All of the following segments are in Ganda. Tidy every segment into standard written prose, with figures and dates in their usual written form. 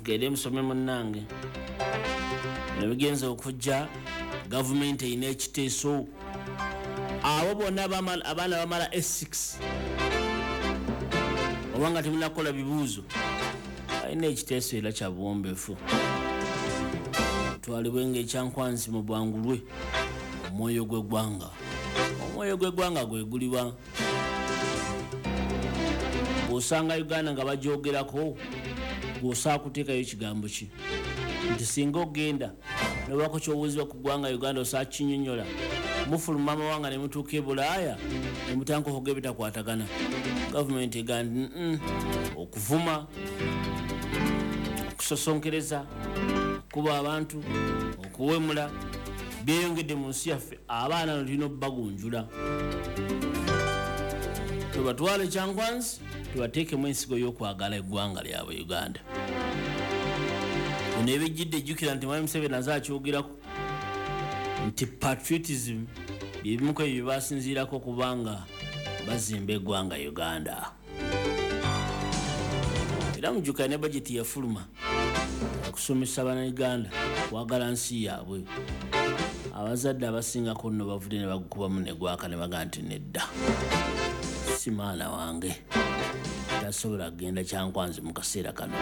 Mugende musome munnange. Ebigenza okujja gavumenti erina ekiteeso. Abo bonna abaana bamala S6 obanga temunakola bibuuzo, alina ekiteeso era kya buwombeefu. Twalibwe ng'ekyankwanzi mu bwangulwe omwoyo gw'eggwanga. Omwoyo gw'eggwanga gwe guliwa? Bw'osanga Uganda nga bagyogerako, gw'osaa kuteekayo ekigambo ki? Nti singa ogenda nobako ky'obuuzibwa ku ggwanga Uganda osaa kinyonnyola. Mufuluma amawanga ne mutuuka e Bulaaya ne mutandika okwogera ebitakwatagana. Gavumenti egamba nti okuvuma, okusosonkereza, okukuba abantu, okuwemula byeyongedde mu nsi yaffe. Abaana no tulina obbagunjula, tubatwale Kyankwanzi tubateekemu ensigo y'okwagala eggwanga lyabwe Uganda. Bino ebijjidde, ejjukira nti Mwami Museveni aze akyogerako nti patriotism byebimu ku ebyo bye basinziirako kubanga bazimba eggwanga Uganda. Era mujjukira ne bajeti yafuluma okusomesa Bannayuganda kwagala nsi yaabwe. Abazadde abasingako nno bavudde ne bagukubamu ne gwaka ne bagamba nti nedda, si maana wange, tasobola kugenda Kyankwanzi mu kaseera kano.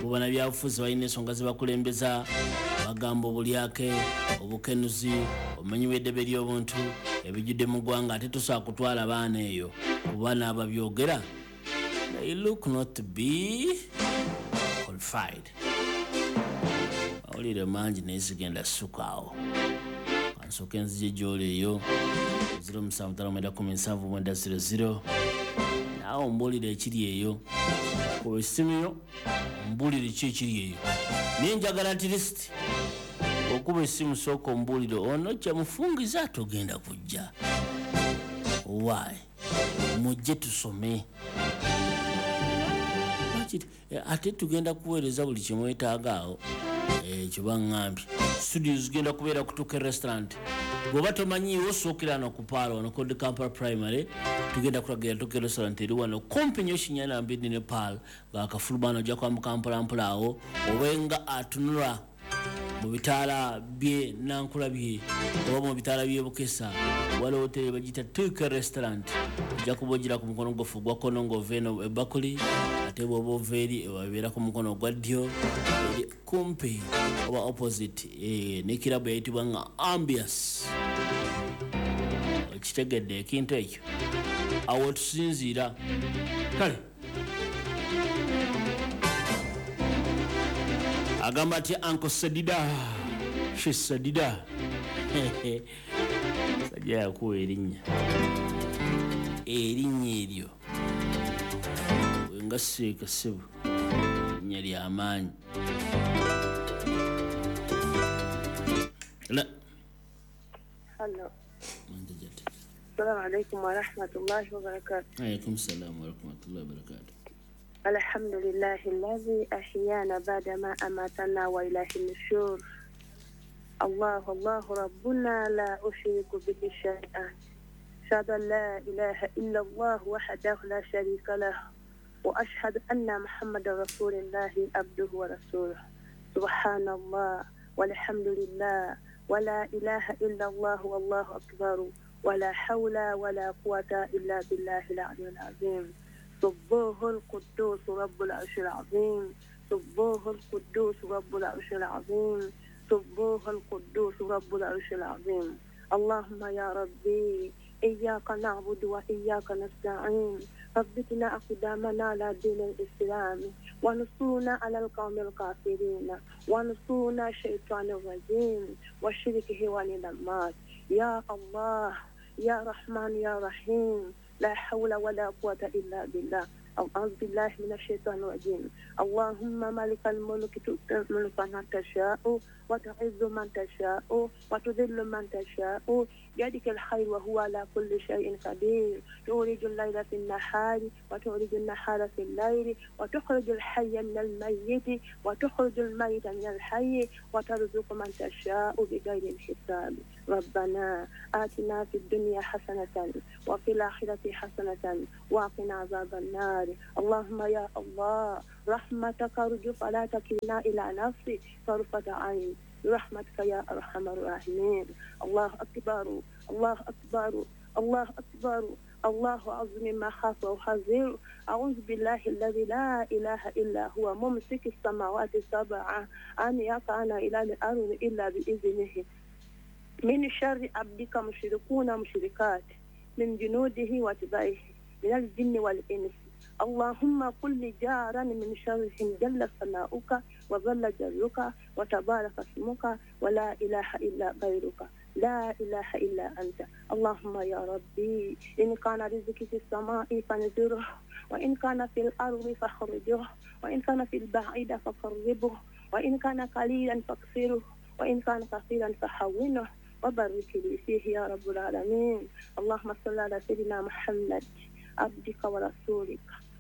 Bo bannabyabufuzi balina ensonga ze bakulembeza, bagamba obulyake, obukenuzi, obumenyi bw'eddembe ly'obuntu ebijjudde mu ggwanga, ate tosobola kutwala baana eyo kuba n'ababyogera they look not to be qualified. Mawulire mangi naye sigenda ssukaawo, kansooke nzije gy'oli eyo 0759179000, naawe ombuulire ekiri eyo. Kuba essimu yo ombuulire ki ekiri eyo, naye njagala at least okuba essimu sooka ombuulire ono kyamufungiza togenda kujja. Why? Mujje tusome. Ate tugenda kuweereza buli kyemwetaaga awo. Ekyo baŋŋambye. Studio zigenda kubeera kutuuka restaurant. Bw'oba tomanyiiwo osookera wano ku Paalo wano Code Kampala Primary, tugenda kulagira Tuke restaurant eri wano kumpi nnyo Kinyana Mbiddi ne Paal, ng'akafuluma ojja kwambuka mpolampola awo obenga atunula mu bitaala bye Nankulabye oba mu bitaala by'e Bukesa, waliwo hoteri bagiyita Tuke restaurant. Ojja kuba ogira ku mukono gwaffe ogwa kkono ng'ova eno ebakuli, ate bw'oba ova eri ebabeera ku mukono ogwa ddyo, eri kumpi oba opposite ne kirabu eyitibwa nga Ambius. Okitegedde ekintu ekyo? Awo tusinziira. Kale agamba ati Uncle Sadida, she Sadida sajja yakuwa erinnya, erinnya eryo wenga seeka ssebo, erinnya ly'amaanyi. La Hello. السلام عليكم ورحمة الله وبركاته. عليكم السلام ورحمة الله وبركاته. الحمد لله الذي أحيانا بعدما أماتنا وإليه النشور. الله الله ربنا لا أشرك به شيئا. أشهد أن لا إله إلا الله وحده لا شريك له، وأشهد أن محمد رسول الله عبده ورسوله. سبحان الله والحمد لله ولا إله إلا الله والله أكبر ولا حول ولا قوة إلا بالله العلي العظيم. سبوه القدوس رب العرش العظيم، سبوه القدوس رب العرش العظيم، سبوه القدوس رب العرش العظيم. اللهم يا ربي إياك نعبد وإياك نستعين، ثبتنا أقدامنا على دين الإسلام، وانصرنا على القوم الكافرين، وانصرنا الشيطان الرجيم وشركه وللمات. يا الله يا رحمن يا رحيم، لا حول ولا قوة إلا بالله. أعوذ بالله من الشيطان الرجيم. اللهم مالك الملك تؤتي الملك من تشاء وتعز من تشاء وتذل من تشاء، بيدك الخير وهو على كل شيء قدير. تولج الليل في النهار وتولج النهار في الليل، وتخرج الحي من الميت وتخرج الميت من الحي، وترزق من تشاء بغير حساب. ربنا آتنا في الدنيا حسنة وفي الآخرة حسنة وقنا عذاب النار. اللهم يا الله رحمتك أرجو فلا تكلنا إلى نفسي طرفة عين برحمتك يا أرحم الراحمين. الله أكبر، الله أكبر، الله أكبر، الله أعظم ما خاف وحذر. أعوذ بالله الذي لا إله إلا هو ممسك السماوات السبع أن يقعن إلى الأرض إلا بإذنه. من شر عبدك مشركون مشركات من جنوده وتبعه من الجن والإنس. اللهم كل جارا من شرهم جل ثناؤك وظل جلك وتبارك اسمك ولا إله إلا غيرك، لا إله إلا أنت. اللهم يا ربي إن كان رزقي في السماء فانزره، وإن كان في الأرض فاخرجه، وإن كان في البعيد فقربه، وإن كان قليلا فاكثره، وإن كان كثيرا فحونه، وبارك لي فيه يا رب العالمين. اللهم صل على سيدنا محمد عبدك ورسولك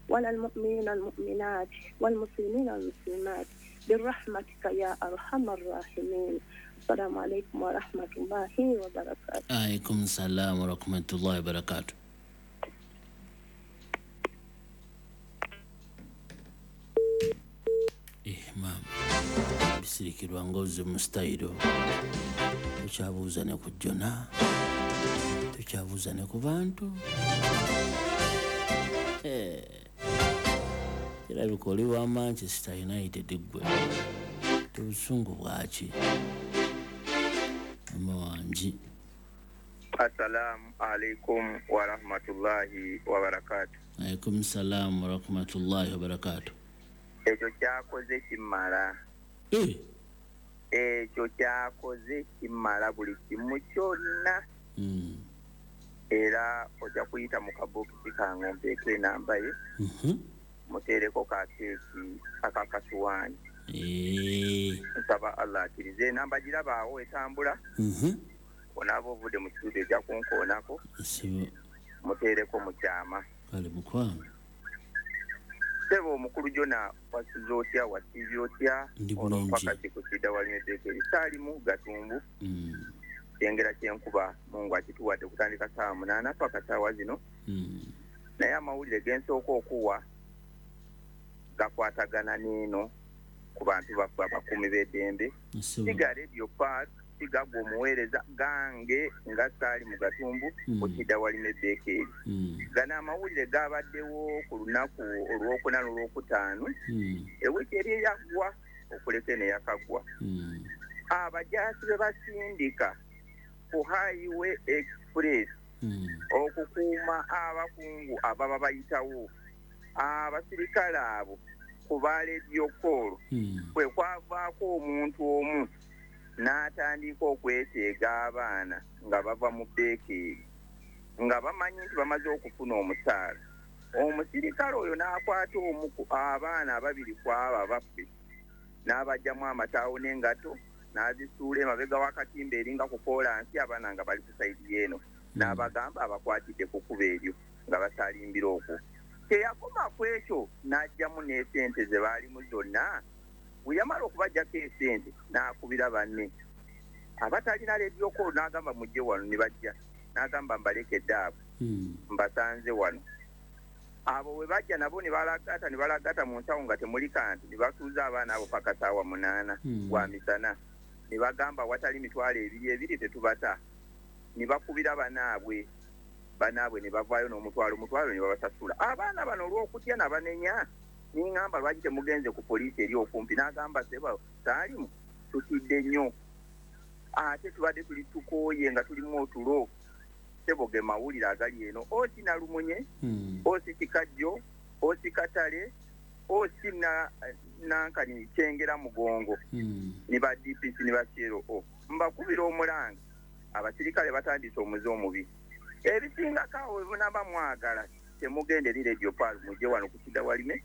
وعلى المؤمنين المؤمنات والمسلمين المسلمات برحمتك يا أرحم الراحمين. السلام عليكم ورحمة الله وبركاته. عليكم السلام ورحمة الله وبركاته. Mama bisirikirwa ngozi mu style tukyabuuza ne ku Jona, tukyabuuza ne ku bantu. Kirabika oli wa Manchester United ggwe, obusungu bwaki? Mama wangi. Assalamu alaikum wa rahmatullahi wa barakatuh. Alaikum salam wa rahmatullahi wa barakatuh. Ekyo kyakoze kimala. Ekyo kyakoze kimala buli kimu kyonna. Era ojja kuyita mu kabokisi kange mpeeko enamba ye. Muteereko ka keeki akakasuwaani. Nsaba Allah akkirize enamba girabaawo etambula. Onaaba ovudde mu kitundu ejja kunkoonako. Muteereko mu kyama. Kale mukwano. Sebo omukulu Jona wasize otya, wasiibye otya? Ono mpaka kikusidda walime Bekeri Saalimu Gatumbu. Kyengera kyenkuba Mungu akituwadde kutandika ssaawa 8 paka ssaawa zino. Naye amawulire ge nsooka okuwa gakwatagana n'eno ku bantu baffe abakuumi b'eddembe. Siga Radio Park, siga gwe omuweereza gange nga Saalimu Gatumbu okidda walime Bekeri. Gano amawulire gabaddewo ku lunaku olwokuna n'olwokutaano ewiiki eri eyaggwa okuleka eno eyakaggwa. Abajaasi be basindika ku Highway Express okukuuma abakungu ababa bayitawo, abasirikale abo ku ba Radio Call kwe kwavaako omuntu omu n'atandika okweteega abaana nga bava mu Bekeri nga bamanyi nti bamaze okufuna omusaala. Omusirikale oyo n'akwata omu abaana ababiri ku abo abaffe n'abajjamu amataawo n'engato n'azisuula emabega w'akatimba eringa ku koolansi, abaana nga bali ku sayidi eno, n'abagamba abakwatidde ku kkubo eryo nga basalimbira okwo. Teyakoma ku ekyo n'aggyamu n'esente ze baalimu zonna. Bwe yamala okubaggyako esente n'akubira banne abatalina Radio Call n'agamba mujje wano, ne bajja n'agamba mbalekedde abo mbasanze wano. Abo bwe bajja nabo ne balagata mu nsawo nga temuli kantu, ne basuuza abaana abo paka ssaawa 8 gwa misana, ne bagamba watali 2,200 tetubata. Ne bakubira banaabwe ne bavaayo n'omutwalo ne babasasula. Abaana bano olw'okutya nabanenya, niŋŋamba lwaki temugenze ku poliisi eri okumpi? N'agamba seba Saalimu tutidde nnyo, ate tubadde tuli tukooye nga tulimu otulo. Sebo ge mawulire agali eno. Osi Nalumunye, osi Kikajjo, osi Katale, osi Nankani Kyengera Mugongo, ne ba DPC ne ba CLO. Mbakubira omulanga, abasirikale batandise omuze omubi. Ebisingako awo bwe mwagala temugende eri Radio Park, mujje wano ku Kidda Walime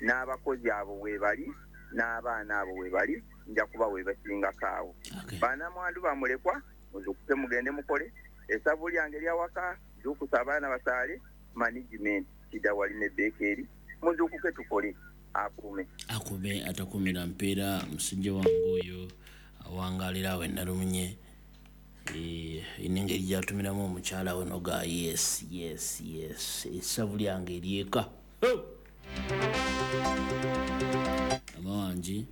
n'abakozi abo we bali n'abaana abo we bali, nja kuba we basingako awo. Bannamwandu bamulekwa muzukuke mugende mukole. Essavu lyange lyawaka, zuukusa abaana basaale, management Kidda Walime Bekeri, muzuukuke tukole. Akume akume atakumira mpeera musajja wange oyo awangalira awo Nalumunye. Engeri gyatumiramu omukyala we noga yes yes yes, essavu lyange eryeka. Wangi.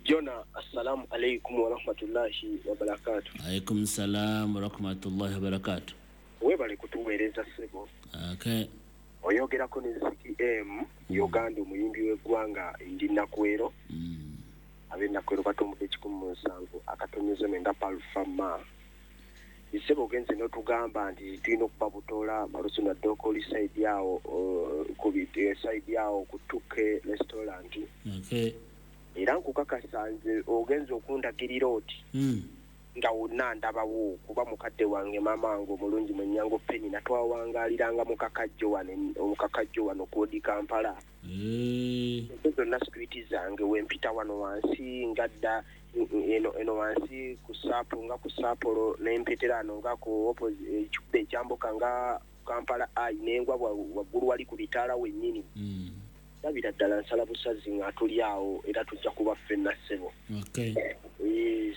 Jona, assalamu alaikum wa rahmatullahi wa barakatuh. Alaikum salam wa rahmatullahi wa barakatuh. Webale kutuweereza ssebo. Okay. Oyogerako ne Ziki M Uganda omuyimbi w'eggwanga ndi Nakwero. Ab'e Nakwero batombodde 17.9 Palfama. Ssebo ogenze n'otugamba nti tulina okuba Butola Malusu na Dokoli side yawo ku side yawo ku Tuke restaurant. Okay. Era nkukakasa nze ogenze okundagirira oti nga wonna ndabawo kuba mukadde wange maama wange omulungi Mwenyango Penny natwawangaaliranga mu Kakajjo wano Kodi Kampala. Ezo zonna street zange wempita wano wansi ngadda eno wansi ku Sapo nga ku Sapolo nempitira ano nga ku opposite ekikube ekyambuka nga Kampala ai nengwa waggulu wali ku bitaala wennyini. Ndabira ddala nsala busazi nga tuli awo era tujja kuba ffenna ssebo. Okay.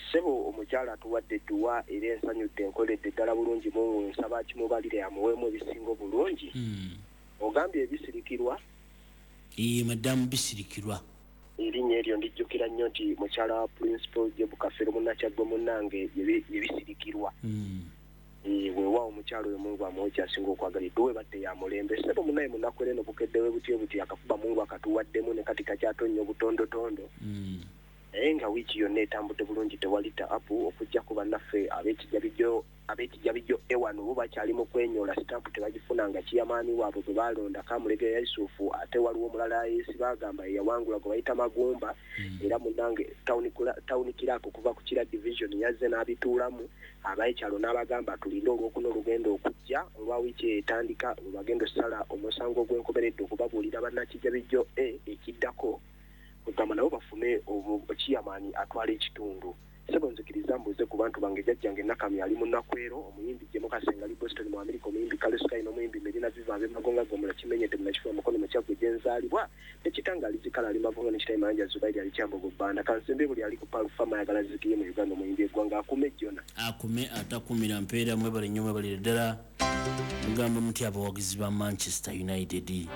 Ssebo omukyala atuwadde edduwa era ensanyudde enkoledde ddala bulungi Mungu nsaba kimubalire amuweemu ebisinga obulungi. Ogambye ebisirikirwa? Madamu Bisirikirwa. Erinnya eryo ndijjukira nnyo nti mukyala wa Principal Jebu Kafeero Munnakyaggwe munnange yebisirikirwa. Weewaawo omukyala oyo Mungu amuwe ky'asinga okwagala edduwa ebadde ya mulembe. Ssebo munnaye munaku eno bukeddewe butyo buti akakuba Mungu akatuwaddemu ne kati kakyatonnya obutondotondo. Naye nga wiiki yonna etambudde bulungi tewali taabu okujja ku bannaffe ab'ekijabijjo ewano bo bakyali mu kwenyola sitampu tebagifunanga kiyamaani waabwe gwe baalonda Kamulegeya Yusufu ate waliwo omulala yeesi bagamba yeyawangula gwe bayita Magumba. Era munnange tawuni kiraako okuva ku Kira division yazze n'abituulamu abaekyalo n'abagamba tulinde olwokuna olugenda okujja olwa wiiki etandika lwe bagenda ossala omusango ogw'enkomeredde okubabuulira bannakijabijjo ekiddako kugamba nabo bafune kiyamaani atwala ekitundu. Ssebo nzikiriza mbuuze ku bantu bange jjajjange Nakamya ali mu Nakwero, omuyimbi Jemo Kasenga ali Boston mu Amerika, omuyimbi Carlos Sky n'omuyimbi Medina Viva ab'e Magonga Gomola Kimenyedde Munakifuba Mukono mu Kyaggwe gye nzaalibwa, ne Kitanga ali Zikala ali Magonga ne Kitayi Mayanja Zubairi ali Kyambogo Bbanda. Kansembe buli ali ku Palfama ayagala Zikiye mu Uganda omuyimbi eggwanga akume Jona. Akume atakumira mpeera mwebale nnyo mwebalire ddala. Mugamba muti abawagizi ba Manchester United.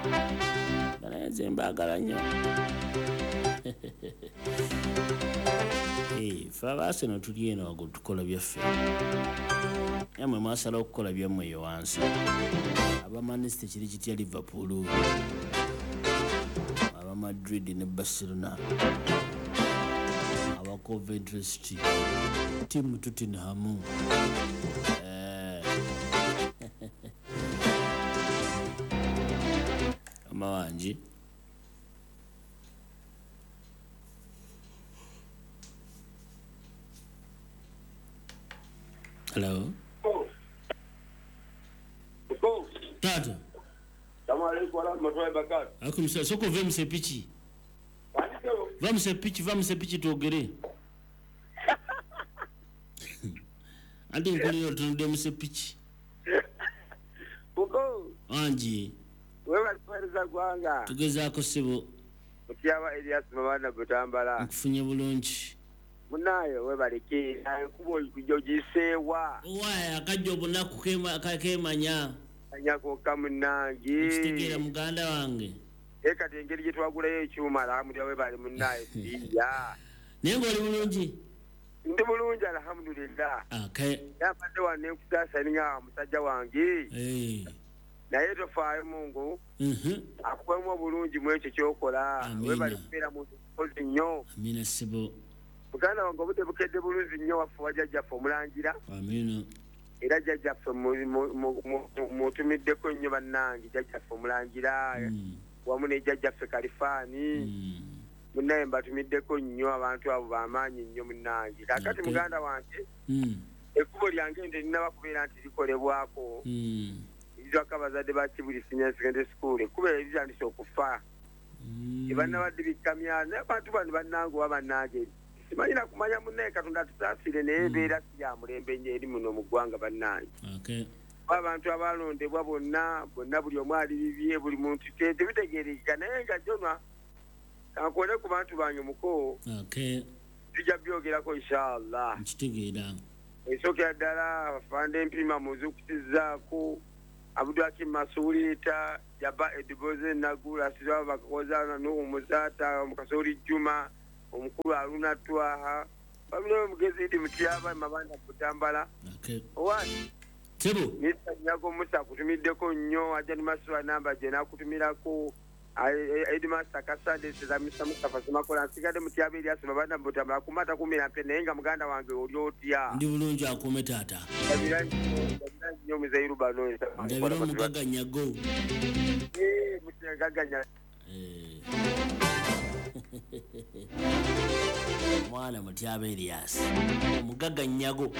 Naye nze mbaagala nnyo. Ffe aba Arsenal tuli eno waggulu tukola byaffe. Nammwe mwasalawo okukola byammwe eyo wansi. Aba Manchester kiri kitya Liverpool, aba Madrid ne Barcelona, aba Coventry City, tiimu Tottenham. Amawangi. Hello. Tata. Assalamu alaikum warahmatullahi wabarakatuh. Alaikum salam. Soko ve msepichi. Va msepichi tuogere. Andi nkoli otunde msepichi. Buko. Anji. Wewe alikueleza gwanga. Tugezaako ssebo. Mutyawa Elias Mabanda Butambala. Nkufunye bulungi. Munayo webaleke kubo kujojisewa. Waya akajja obunaku kemanya. Anyako kamunange. Kitegeera muganda wange. Eka engeri gye twagulayo ekyuma alhamdulillah webale munnaye ya. Naye ng'oli bulungi? Ndi bulungi alhamdulillah. Okay. Yabadde wano nkusaasa ninga musajja wange. Naye tofaayo Mungu. Akuwemu obulungi mu ekyo ky'okola. Webale kubeera muntu mukozi nnyo. Amina ssebo. Muganda wange obudde bukedde bulungi nnyo waffe wa jjajjaffe omulangira. Amina. Era jjajjaffe mutumiddeko nnyo bannange jjajjaffe omulangira. Wamu ne jjajjaffe Kalifaani. Munnaye mbatumiddeko nnyo abantu abo b'amaanyi nnyo munnange. Kaakati muganda wange ekkubo lyange nte linaba kubeera nti likolebwako. Erizwako abazadde ba Kibuli Senior Secondary School ekkubo eryo litandise okufa. Tebannabadde bikamya naye abantu bano bannange oba bannange simanyi na kumanya munnaye Katonda atusaasire naye embeera si ya mulembe nnyo eri muno mu ggwanga bannange. Abantu abalondebwa bonna bonna buli omu ali bibye buli muntu tebitegeerekeka naye nga Jona kankole ku bantu bange muko. Tujja byogerako inshallah. Nkitegeera. Esookera ddala afande Empima muzuukusizzaako Abdulhakim Masuulita Jaba Ediboze Nagula Siraba Bakakoza Nuhu Muzaata Mukasoli Juma Omukulu Aluna Twaha. Family omugezi Idi Mutyaba Mabanda Butambala. Okay. Owani. Sebo. Mr. Nyago Musa kutumiddeko nnyo ajja ni Maswa namba gye nakutumirako. Edmaster Kasande Seza Mr. Mustafa Semakola nsigadde Mutyaba Erias Mabanda Butambala kumata 10 naye nga muganda wange oli otya. Ndi bulungi akuume taata. Ndabira nnyo Muzeiru bano. Ndabira omugagga Nyago. Mugagga Nyago. Mwana Mutyaba Erias omugagga Nyago.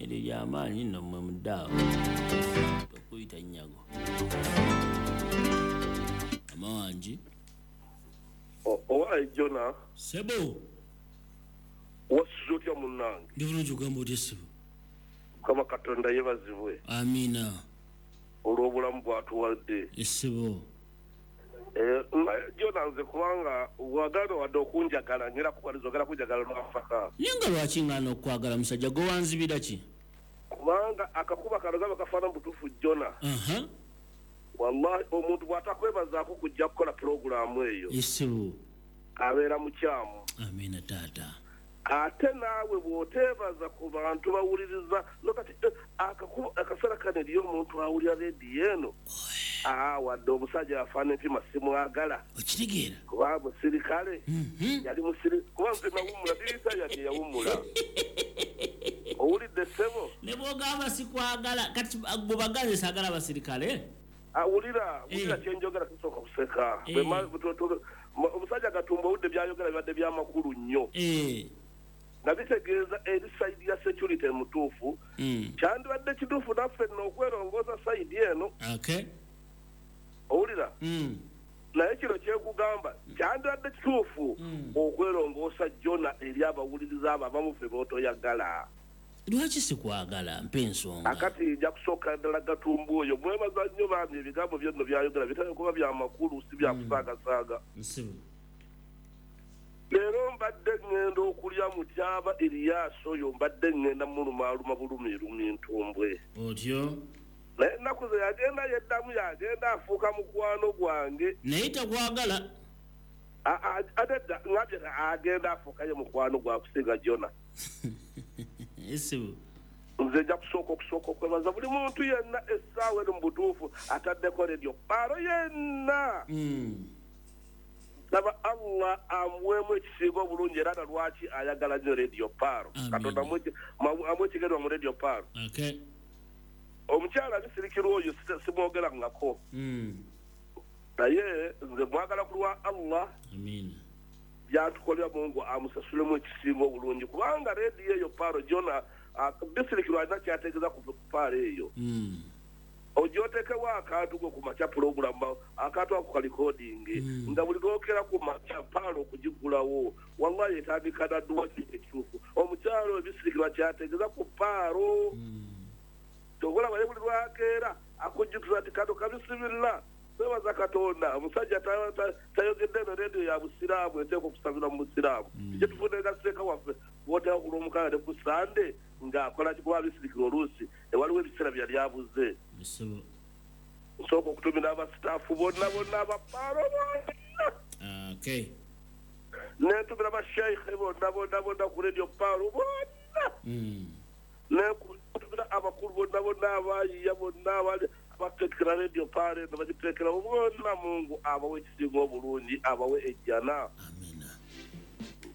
Eryo ly'amaanyi nno mmwe muddaawo okuyita Nyago. Amawangi. Owaye Jona. Sebo. Wasuze otya munnange? Ndi bulungi ogamba otya ssebo? Mukama Katonda yeebazibwe. Amiina. Olw'obulamu bw'atuwadde. Ssebo. Jona nze kubanga wagala wadde okunjagala ngera kukwaliza ogala kunjagala lwafaka. Naye nga lwaki ngaana okwagala musajja gwe wanzibira ki? Kubanga akakuba kano gaba kafaana mu butuufu Jona. Wallahi omuntu bw'atakwebazaako kujja kukola pulogulaamu eyo. Ssebo. Abeera mukyamu. Amiina taata. Ate naawe bw'oteebaza ku bantu bawuliriza nokati akaseera kano eriyo omuntu awulira rediyo eno. Wadde omusajja afaana empima simwagala. Okitegeera? Kuba musirikale. Yali kuba nze nawummula dirisa yadde yawummula. Owulidde ssebo? Ne bw'ogamba sikwagala kati gwe baganze saagala abasirikale? Awulira kyenjogera tusooka kuseka. Omusajja Gatumba owudde byayogera bibadde byamakulu nnyo. Nga bitegeeza eri sayidi ya security mutuufu. Kyandibadde kituufu naffe nno okwerongoosa sayidi eno. Okay. Owulira? Naye kino kyekugamba kyandibadde kituufu okwerongoosa Jona eri abawuliriza abo abamu ffe b'otoyagala. Lwaki sikwagala mpa ensonga? Akati nja kusooka ddala Gatumba oyo mwebaza nnyo bambi ebigambo byonno byayogera bitera kuba bya makulu si bya kusaagasaaga. Nsibu. Leero mbadde ŋŋenda okulya Mutyaba Erias oyo mbadde ŋŋenda mulumaaluma bulumirumi ntumbwe. Otyo? Naye ennaku ze yagenda yeddamu yagenda afuuka mukwano gwange. Naye takwagala. Ate dda ngambye agenda afuukayo mukwano gwakusinga Jona. Ssebo. Nze nja kusooka okwebaza buli muntu yenna essaawa eno mu butuufu ataddeko rediyo Paaro yenna. Saba Allah amuweemu ekisinga obulungi era na lwaki ayagala nnyo rediyo Paaro. Katonda amuwe ekigererwa mu rediyo Paaro. Okay. Omukyala bisirikirwa oyo simwogerangako. Naye nze mwagala ku lwa Allah. Amiina. Byatukolera Mungu amusasulemu ekisinga obulungi kubanga rediyo eyo Paaro Jona bisirikirwa alina kyategeeza ku Paaro eyo. Ojootekewo akantu gwe ku makya pulogulaamu akantu ako kalikodingi nga buli lwokera ku makya Paaro okugigulawo wallahi etandika na dduwa ekituufu. Omukyalo ebisirikirwa kyategeeza ku Paaro. Tokola bali buli lwakeera akujjukiza nti kano kabisibirira kwebaza Katonda omusajja tayogedde eno rediyo ya busiraamu eteekwa okusabira mu busiraamu. Kye tufune nga waffe bw'oteeka ku Lwomukaaga ne ku Sande ng'akola kikuba bisirikirwa oluusi ewaliwo ebiseera byali abuze. Nsooka okutumira abasitaafu bonna bonna abapaaro bonna. Okay. Nentumira basheikhe bonna bonna bonna ku rediyo Paaro bonna. Nentumira abakulu bonna bonna abayiiya bonna abali abateekera rediyo Paaro eno bagiteekerawo bonna. Mungu abawe ekisinga obulungi abawe ejjana. Amiina.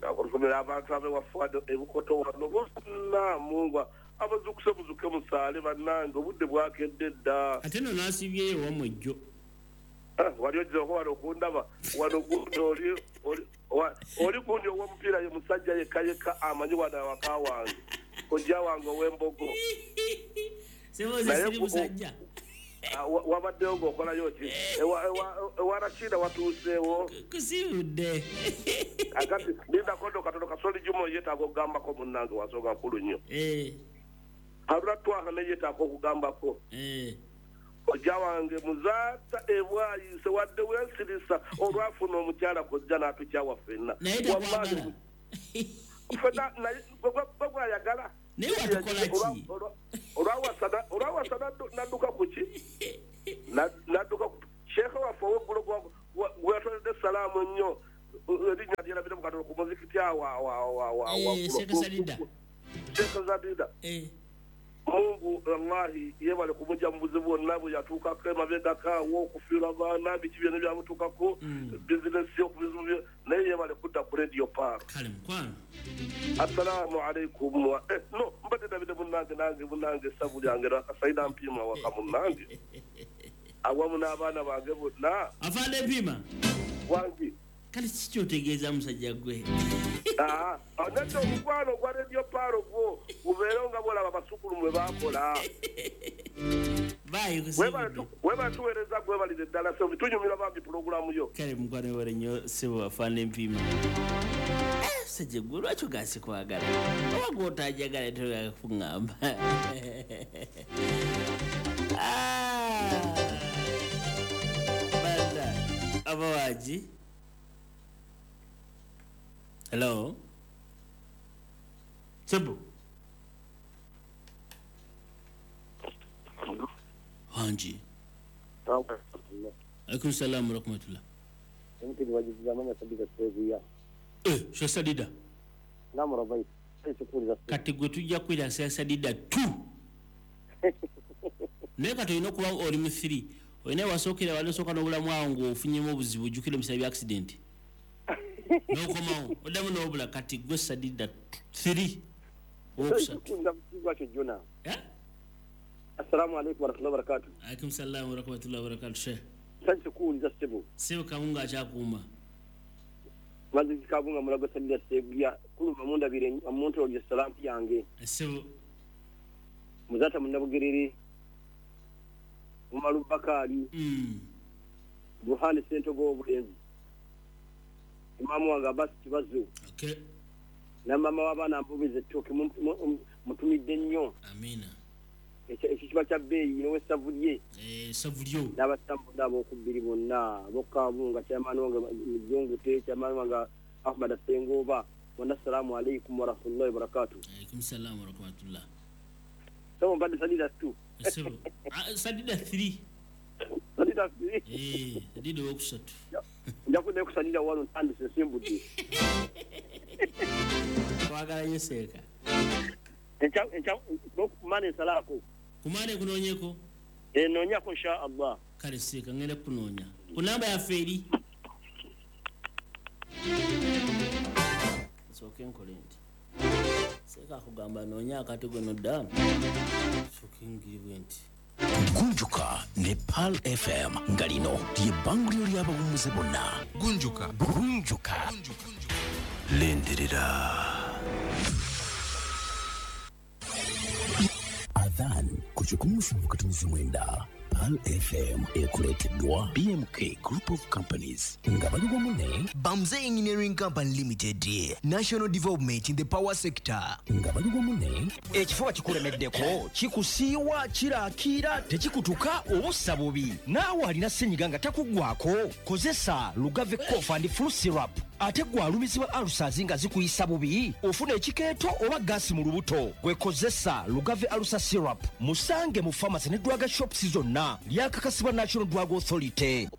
Okutumira abantu ab'ewaffe wano ebukoto wano bonna Mungu abazuukuse muzuke musaale bannange obudde bwakedde dda. Ate nno n'asibyeyo wammwe jjo. Wali ojjako wano okundaba wano gundi oli gundi ow'omupiira ye musajja yekka yekka amanyi wano awaka wange kojja wange ow'embogo. Sebo nze siri musajja. Wabaddewo ng'okolayo ki? Ewa Rashida watuuseewo. Kusibudde. Akati lindako nno katono Kasoli Juma yeetaaga okugambako munnange wa nsonga nkulu nnyo. Haruna Twaha naye yeetaaga okugambako. Kojja wange Muzaata ebwayise wadde weesirisa olwafuna omukyala kojja n'atukyawa ffenna. Naye takwagala. Ffenna naye gwe gwayagala. Naye watukola ki? Olwawasa nadduka ku ki? Nadduka ku sheikh waffe ow'eggulo gwe yatwaledde salaamu ennyo Erinnya lyerabire mu katono ku muzikiti awo awo. Sheikh Sadida. Sheikh Sadida. Mungu wallahi yebale kumujja mu buzibu bwonna bwe yatuukako emabegako awo okufiirwa abaana biki byonna byamutuukako bizinesi okubizibu bye naye yebale kudda ku Radio Pearl. Kale mukwano. Assalamu alaikum no mbadde ndabidde munnange nange munnange essavu lyange lwakasaida Mpiima waka munnange awamu n'abaana bange bonna. Afande Mpiima. Wangi. Kale kiki kyotegeeza musajja gwe? Nedda omukwano gwa Radio Pearl gwo gubeerewo nga bw'olaba abasukulu mwe baakola. Webale tuweereza gwebalire ddala ssebo tunyumirwa bambi pulogulaamu yo. Kale mukwano webale nnyo ssebo Afande Mpiima. Musajja gwe lwaki ogasse kwagala? Oba gw'otanjagala toyagala kuŋŋamba. Banda abawaagi. Hello. Sebo. Hanji. Alaikum salam wa rahmatullah. Sheikh Sadida. Kati gwe tujja kwira Sheikh Sadida 2. Naye kati olina okuba oli mu 3. Olina wasookera wali osooka n'obulamu awo ng'ofunyemu obuzibu ojjukira ebiseera bya accident. N'okomawo oddamu n'obula kati gwe Sadida 3 owokusatu. Assalamu alaikum warahmatullahi wabarakatuh. Alaikum salam warahmatullahi wabarakatuh. Sheikh. Nsanyuse kuwuliza ssebo. Ssebo Kabunga akyakuuma. Mazi Kabunga mulago Sadida Sseguya kuluma mundabire omuntu olyo salaamu yange. Ssebo. Muzata Munnabugerere. Umaru Bakari. Buhani Ssentogo obulenzi. Imamu wange Abbas Kibazo. Okay. Na mama w'abaana mbubize ettooke mutumidde nnyo. Amina. Ekyo kiba kya bbeeyi n'owessavu lye. Essavu lyo. N'abasiraamu ab'okubbiri bonna ab'okkabunga chairman wange Mujungute, chairman wange Ahmad Ssengoba bonna assalamu alaikum warahmatullahi wabarakatuh. Alaikum salam warahmatullah. Sebo mbadde Sadida 2. Sebo. Sadida 3. Sadida 3. Sadida owokusatu. Nja kuddayo ku Sadida 1 ntandise nsimbudde. Twagala nnyo Seeka. Enkya kumane nsalaako. Kumane kunoonyeko? Noonyako insha Allah. Kale Seeka ngenda kukunoonya. Ku namba yaffe eri. Nsooke nkole nti. Seeka akugamba noonya akati gwe nodda. Nsooke ngiri bwe nti. Gunjuka ne Pearl FM nga lino ly'ebbanguliro ly'abawummuze bonna. Gunjuka. Gunjuka. Lindirira. Adhan ku 107.9 Pearl FM ekuleeteddwa BMK Group of Companies nga bali wamu ne Bamze Engineering Company Limited, National Development in the Power Sector nga bali wamu ne ekifuba kikulemeddeko kikusiiwa kiraakira tekikutuka obussa bubi naawe alina ssenyiga nga takuggwako kozesa Lugave Cough and Flu Syrup ate gwe alumizibwa ulcers nga zikuyisa bubi ofuna ekikeeto oba gaasi mu lubuto gwe kozesa Lugave Ulcer Syrup musange mu pharmacy ne drug shops zonna lyakakasibwa National Drug Authority.